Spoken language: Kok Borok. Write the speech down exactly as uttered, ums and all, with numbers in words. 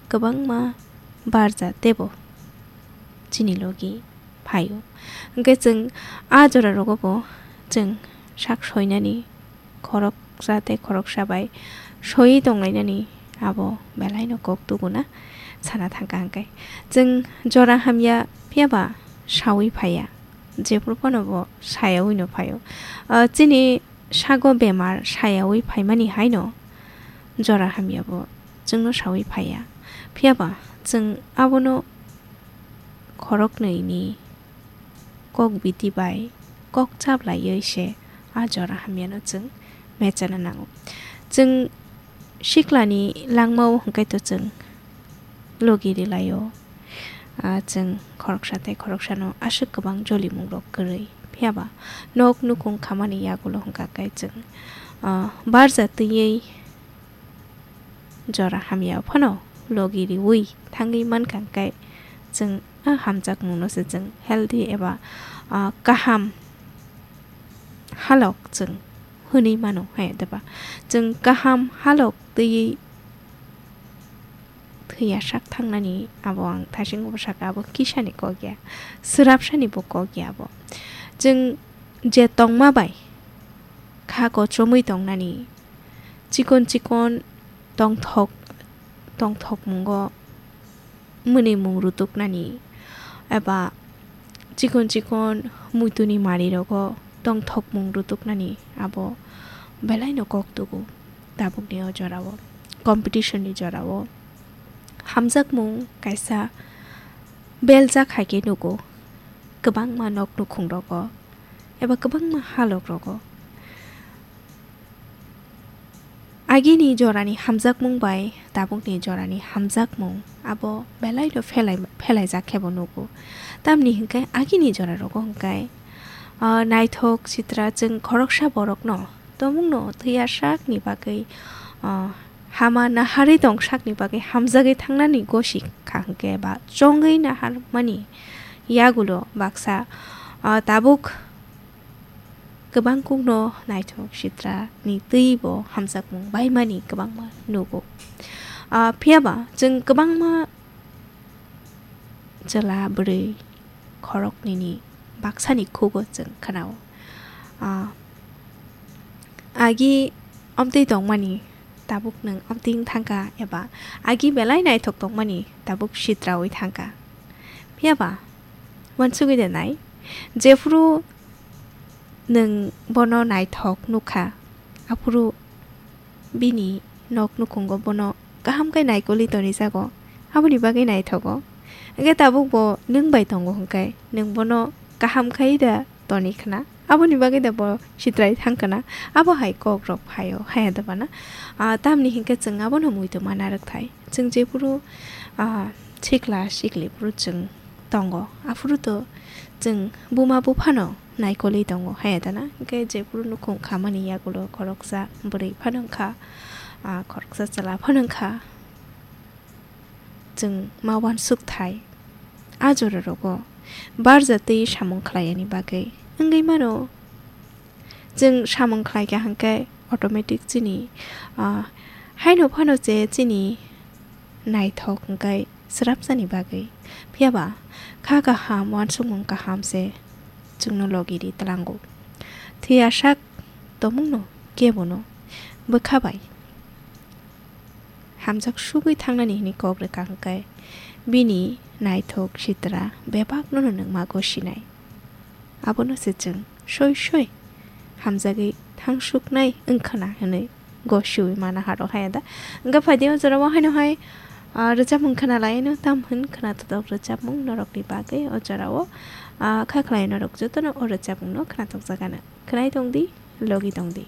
kwbangma barja teibo chini logi phaio. Hwnkhe chwng a jora rogo bo chwng sak soinani, khoroksa tei khoroksa bai soiwi tonglainani abo belaino kok tubuna sana thangkha hwnkhe. Chwng jora hamya phiyaba saui phaiya, jephru phano bo sayaui no phaio. Ah, chini sago bemar sayaui phaimani haino jora hamyabo chwngno saui phaiya. Phiyaba chwng abono khoroknwini kok biti bai kok chaplaiwi se a jora hamyano chwng mechana nango. Chwng siklani langmao hwnkhe to chwng logi rilaio. Ah, chwng khoroksa tei khoroksano aswk kwbang jolimungrok kwrwi. Phiyaba nok nukhung khamani yagulo hwnkha khe chwng, ah, barja twiwi jora hamya phano logi riui thangwi mankha hwnkhe chwng a hamjakmungno se chwng healthy eba, ah, kaham halok chwng hwnwi mano, hai diba? Chwng kaham halok twiwi thwiya sak thangnani abo ang thaisingo bo sakha, abo kisani kok ya, swrapsani bo kok ya abo. Chwng je tongma bai kha kochomwi tongnani, chikon chikon tongthok, tongthokmungo mwnwimung rutuknani eba chikon chikon muituni marirogo tongthokmung rutuknani abo belaino kok tugo tabukni o jorao, competition ni jorao. Hamjakmung kaisa beljak hai khe nugo kwbangma nok nukhungrogo eba kwbangma halokrogo. Agini jorani hamjakmung bai tabukni jorani hamjakmung abo belaino phelai-, phelaijak khe bo nugo. Tamni hinkhe agini jorarogo hinkhe, ah, naithok sitra chwng khoroksa borokno tomungno thwiya sakni bagwi, ah, hama naharwi tong sakni bagwi hamjagwi thangnani gosi kha hinkhe ba chongwi naharmani yagulo baksa, ah, tabuk kwbangkukno naithok sitrani twibo hamjakmung baimani kwbangma nugo. Ah, phiyaba chwng kwbangma chwla bwrwi khoroknwini baksani khugo chwng khnao. Ah, agi amtwi tongmani tabuk nwng amtwi wng thangkha eba agi belai naithok tongmani tabuk sitraui thangkha. Phiyaba uansugwi de nai, jephru nwng bono naithok nukha, aphuru bini nok nukhungo bono kaham khe naikolwi tonijago, aboni bagwi naithogo. Hwnkhe tabuk bo nwng bai tongo hwnkhe nwng bono kaham khai da toni khna, aboni bagwi da bo sitrai thang khna, abo hai kok rok phaio, haya da bana. Ah, tamni hinkhe chwng abono muitu mana rwk thai. Chwng jephuru, ah, sikla sikli phuru chwng tongo, aphuru to chwng buma buphano naikolwi tongo, haya da na? Hinkhe jephuru nukhung khamani yagulo khoroksa bwrwi phano wngkha, ah, khoroksa chwla phano wngkha. Chwng ma uansuk thai, a jora rogo barja twi samung khlaiyani bagwi wngwi mano. Chwng samung khlai kha hwnkhe automatic chini, ah, haino phano je chini naithok hwnkhe swrapsani bagwi. Phiyaba kha kaham, uansukmung kaham se chwngno logi ri tlango. Thwiya sak tongmungno kebono bwkha bai hamjak sugwi thangnani hwnwi kok rwkha hwnkhe bini naithok sitra bebakno nwng mago sinai. Abono se chwng soi soi hamjagwi thangsuknai wngkhwna hwnwi gosiwi mana haro haya da. Wngkha phaidi o jorao haino hai, ah, rwchapmung khwnalaino tam hwn khwna totok rwchapmung norokni bagwi o jorao, ah, kha khlai norok jotono o rwchapmungno khwna tokjagano. Khwnai tongdi, logi tongdi.